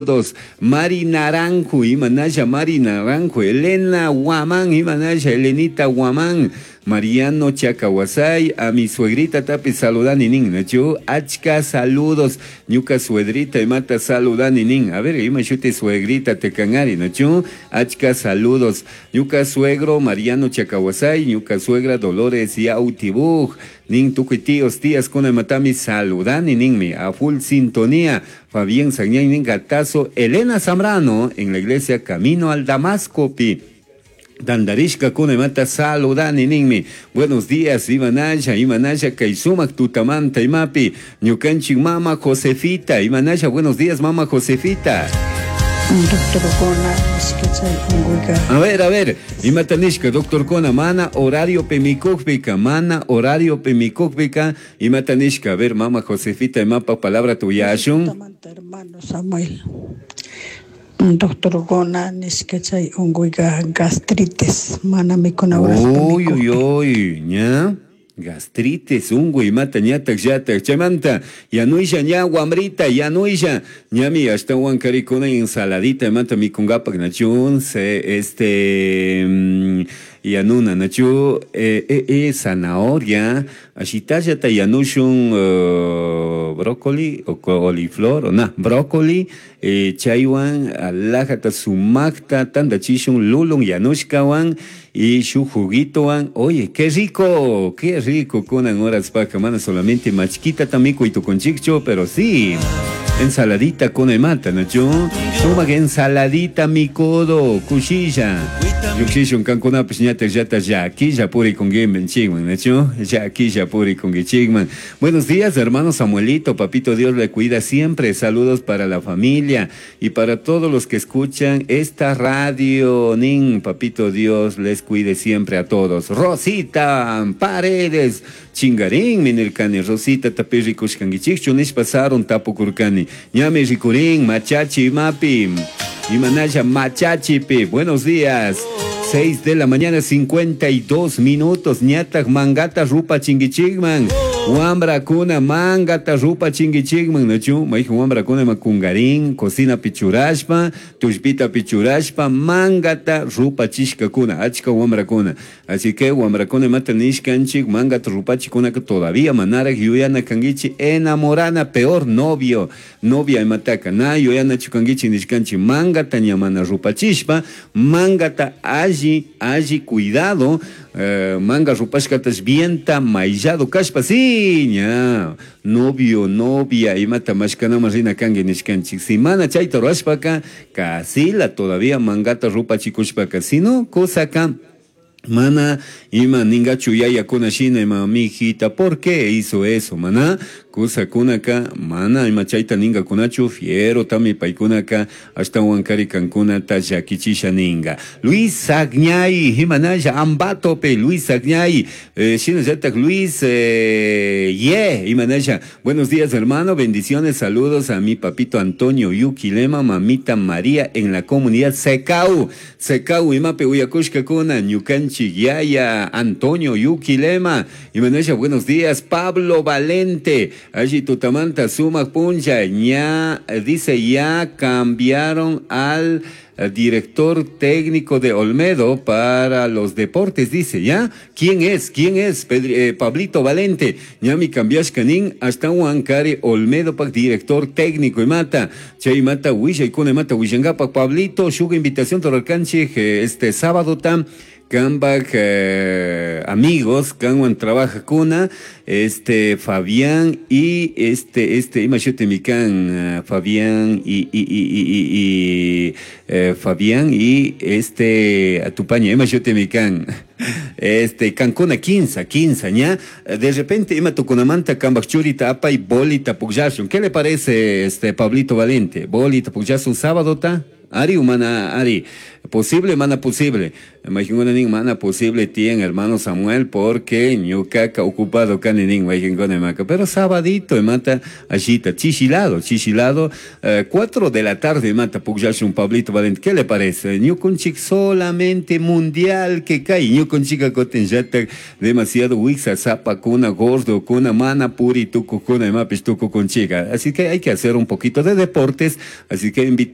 Dos, Mari Naranjo, Imanaya Mari Naranjo, Elena Guamán, Imanaya Elenita Guamán, Mariano Chacahuasay, a mi suegrita tapi saludani nin, nachu, achka saludos, ñuka suegrita imata saludani nin, a ver, ima shuti suegrita te cangari, nachu, achka saludos, ñuka suegro Mariano Chacahuasay, ñuka suegra Dolores Yautibuj, nin tukuy tíos, tías kuna imatami saludani ninmi, a full sintonía, Fabián Sagñay nin gatazo, Elena Zambrano en la iglesia Camino al Damasco pi. Tandarishka kuna imata saludani ninmi. Buenos días, Imanaya, Imanaya, kay sumak tutamanta imapi. Ñukanchik mama Josefita, Imanaya, buenos días, mama Josefita. Doctor Kona, nishka chay unkuyka. A ver, imata nishka, doctor Kona, mana horario pemikukpika, mana horario pemikukpika, imata nishka, a ver, mama Josefita, imapa palabra tuyashun. Tutamanta, hermano Samuel. Doctor Gona, nishka chay unkuyka gastritis, mana mikuna horaspi Uy, uy, mikukpi. uy, ña. Gastritis, unguy, imata ñatak llatak, chaymanta, yanuysha ña wamrita, yanuysha, ñami ashtawan karikuna ensaladita, imata mikungapak nachun, se, este, yanuna, nachu, zanahoria, ashitallata yanushun, brócoli, o coliflor, o na, brócoli, chaywan, alajata sumakta, tandachishun, lulun, yanushkawan, y shu juguitowan, oye, qué rico, qué rico, kunan horas paca, mana solamente machquita también y tu conchicho, pero sí, ensaladita con mata, ¿no? Yo, suma que ensaladita mi codo, cuchilla. Yo quise un cancuna, pues ñata, yata, ya, aquí ya puri con game, chingman, ¿no? Yo, ya aquí ya puri con chingman. Buenos días, hermano Samuelito, papito Dios le cuida siempre. Saludos para la familia y para todos los que escuchan esta radio, nin, papito Dios les cuide siempre a todos. Rosita Paredes, chingarín, minircani, Rosita, tapirri kushkangichikchu, nish pasaron tapukurkani, ñami rikurín, machachi mapi, imanaya machachipi. Buenos días. 6 de la mañana, 52 minutos. Ñatak mangata rupa chingichigman. Wambra kuna mangata rupa chingichigman. Nachu, maija wambra kuna makungarín, cocina pichurashpa, tushpita pichurashpa, mangata rupa chishka kuna, achka wambra kuna. Así que wambra kuna mata nishkanchik, mangata rupa chikuna que todavía manara yuyana kangichi enamorana, peor novio, novia imataka. Na yuyana chukangichi nishkanchi, mangata ñamana rupa chishpa, mangata alli, alli cuidado, manga rupashkatas vienta maillado kashpa, sí, ña, novio, novia, imata mashkanama rina kangi nishkanchik. Si mana chayta ruashpaka, kasila todavía mangata rupa chikushpaka, si no, kosaka, mana, ima ningachu yaya kuna shina, ima mijita, ¿por qué hizo eso, mana? Kusa kunaka, mana, ima chayta ninga kunachu, fiero tami paikunaka, hasta huancari cancuna ta yakichisha ninga. Luis Sagñay, imanaya, ambatope, Luis Sagñay, shina yatak Luis, ye, imanaya. Buenos días, hermano, bendiciones, saludos a mi papito Antonio Yuquilema, mamita María en la comunidad Secau, Secau, imape uyakushka kuna, ñukanchi yaya, Antonio Yuquilema, imanaya, buenos días, Pablo Valente, allí tutamanta, sumac puncha, ña, dice, ya cambiaron al director técnico de Olmedo para los deportes, dice, ¿ya? ¿Quién es? ¿Quién es? Pablito Valente, ñami cambiashkanin, hasta Huancari Olmedo pa director técnico y mata, chay mata, huilla y cuna y mata, huillangapa, Pablito, shuga invitación toralcanchi, este sábado tam, Kambak amigos, Kanwan trabaja kuna, este Fabián y este, este, imashute mikan Fabián y, y, y, y, y, y Fabián y este, Atupaña, imashute mikan, este, Cancuna, quinza, quinza, ña, de repente, ima tukunamanta, Kambak churita, apa y bolita pugyasun. ¿Qué le parece, este, Pablito Valente? Bolita pugyasun sábado, ta? Ari, humana, Ari. Posible, mana posible. Mayqinkuna nin mana posible tiyan hermano Samuel porque ñuqaqa ocupado kani nin mayqinkuna imaka. Pero sabadito imata allita chishilado, chishilado, 4 eh, de la tarde imata pukllashun Pablito Valente. ¿Qué le parece? Ñukunchik solamente mundial que kay ñukunchika kutinllatak demasiado wiksa sapakuna gordokuna mana puri tukukuna imapish tukukunchika. Así que hay que hacer un poquito de deportes, así que invitamos.